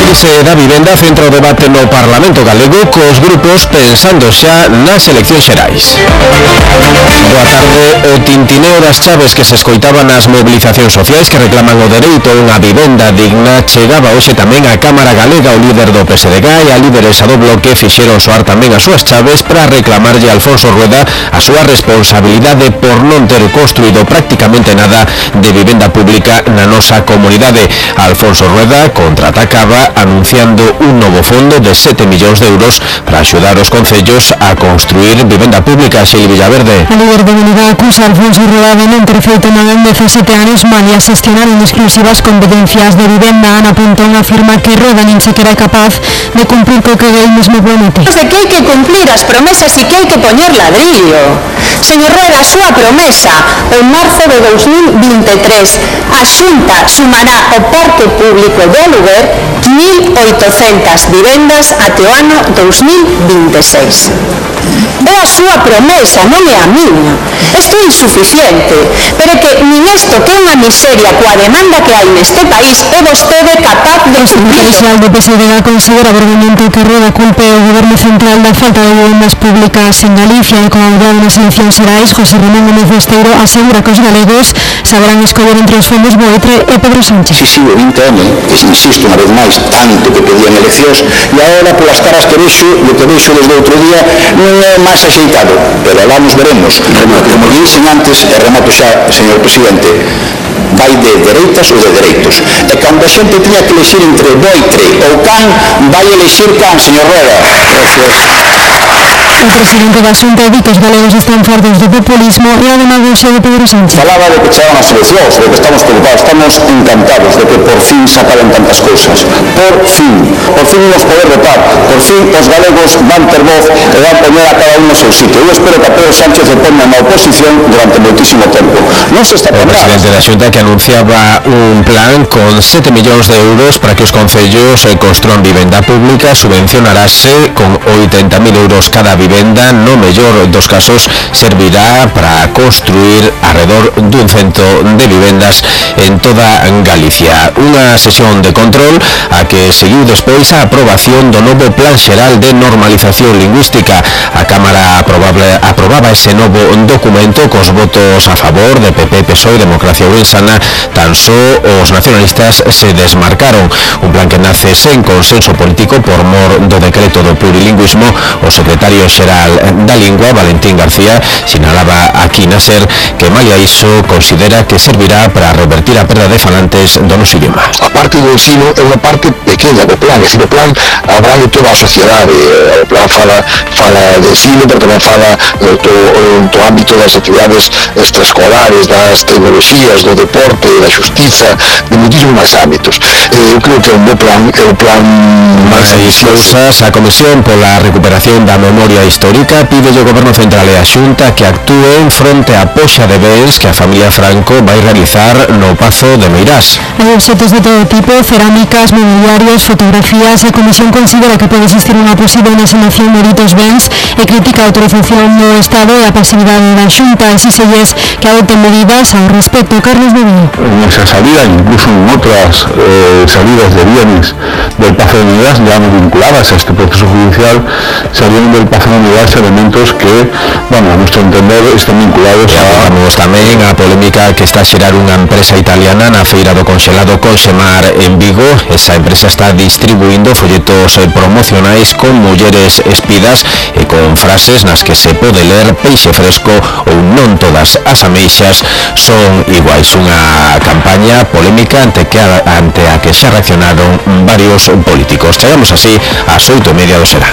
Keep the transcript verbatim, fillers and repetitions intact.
crise da vivenda centra o debate no Parlamento galego cos grupos pensando xa nas eleccións xerais. Boa tarde. O tintineo das chaves que se escoitaba nas mobilizacións sociais que reclaman o dereito a unha vivenda digna chegaba hoxe tamén á Cámara Galega. O líder do P S D G e a lideresa do Bloque fixeron soar tamén as súas chaves para reclamarlle a Alfonso Rueda a súa responsabilidade por non ter construído prácticamente nada de vivenda pública na nosa comunidade. Alfonso Rueda contraatacaba anunciando un novo fondo de sete millóns de euros para axudar os concellos a construir vivenda pública. Xeli Villaverde. A líder da unidade acusa a Alfonso Rueda de non ter feito nada en dezasete anos, malia xestionar en exclusivas competencias de vivenda. Ana Pontón afirma que Rueda nin sequera é capaz de cumprir co que el mesmo promete. De que hai que cumplir as promesas e que hai que poñer ladrillo. Señor Rueda, a súa promesa en marzo de dos mil vinte e tres, a Xunta sumará ao parque público de aluguer mil oitocentas vivendas até o ano dos mil vinte e seis. É a súa promesa, non é a miña. Isto é insuficiente, pero que nin isto que é unha miseria coa demanda que hai neste país é vostede capaz de cumprir. O secretario do P S D G considera vergoñante que Rueda culpe o goberno central da falta de vivendas públicas en Galicia e con a auga nas eleccións xerais. José Ramón Gómez Besteiro asegura que os galegos saberán escoller entre os fondos Boetre e Pedro Sánchez. Si, si, o vinte eme, que insisto unha vez máis, tanto que pedían eleccións, e agora polas caras que vexo, e que vexo desde outro día, non é máis axeitado, pero alá nos veremos. Como dixen antes, e remato xa, señor presidente, vai de dereitas ou de dereitos. E cando a xente tiña que elegir entre Boitre ou Can, vai elegir Can, señor Rueda. O presidente da Xunta di que os galegos están fartos do populismo e a demagoxia de Pedro Sánchez. Falaba de que chegaban as eleccións, de que estamos preocupados, estamos encantados de que por fin se acaben tantas cousas. Por fin. Por fin nos poder votar. Por fin os galegos van ter voz e van poñer a cada un no seu sitio. Eu espero que a Pedro Sánchez se ponga na oposición durante moitísimo tempo. Non se está o presidente da Xunta que anunciaba un plan con sete millóns de euros para que os concellos construan vivenda pública, subvencionarase con oitenta mil euros cada vivenda, no mellor dos casos servirá para construir alrededor dun cento de vivendas en toda Galicia. Unha sesión de control a que seguiu despois a aprobación do novo Plan Xeral de Normalización Lingüística. A Cámara aprobable, aprobaba ese novo documento cos votos a favor de P P, P S O E e Democracia Ourensana. Tan só os nacionalistas se desmarcaron. Un plan que nace sen consenso político por mor do decreto do plurilingüismo. O secretario xeral da Lingua, Valentín García, sinalaba aquí na SER que malia iso considera que servirá para revertir a perda de falantes do noso idioma. A parte do ensino é unha parte pequena do plan, é dicir, o plan abrange toda a sociedade. O plan fala, fala de ensino, pero tamén fala do, do, do ámbito das actividades extraescolares, das tecnologías, do deporte, da xustiza, de muitísimos máis ámbitos. Eu creo que é un bo plan, é un plan máis ambicioso. A Comisión pola Recuperación da Memoria Histórica pide ao Goberno Central e a Xunta que actúen fronte á poxa de bens que a familia Franco vai realizar no Pazo de Meirás. Hai obxetos de todo tipo, cerámicas, mobiliarios, fotografías. A Comisión considera que pode existir unha posible enaxenación de ditos bens e critica a autorización do Estado e a pasividade da Xunta. Exíxelles que adopten medidas ao respecto. Carlos Medina. En esa salida, incluso en otras eh, salidas de bienes del Pazo de Meirás, ya no vinculadas a este proceso judicial, salieron del Pazo de Meirás elementos que, bueno, a nuestro entender, están vinculados e a... Vamos tamén a polémica que está a xerar unha empresa italiana na feira do conxelado Conxemar en Vigo. Esa empresa está distribuindo folletos promocionais con mulleres espidas e con frases nas que se pode ler peixe fresco ou non todas as ameixas son iguais. Unha campaña polémica ante, que, ante a que xa reaccionaron varios políticos. Chegamos así ás oito e media do será.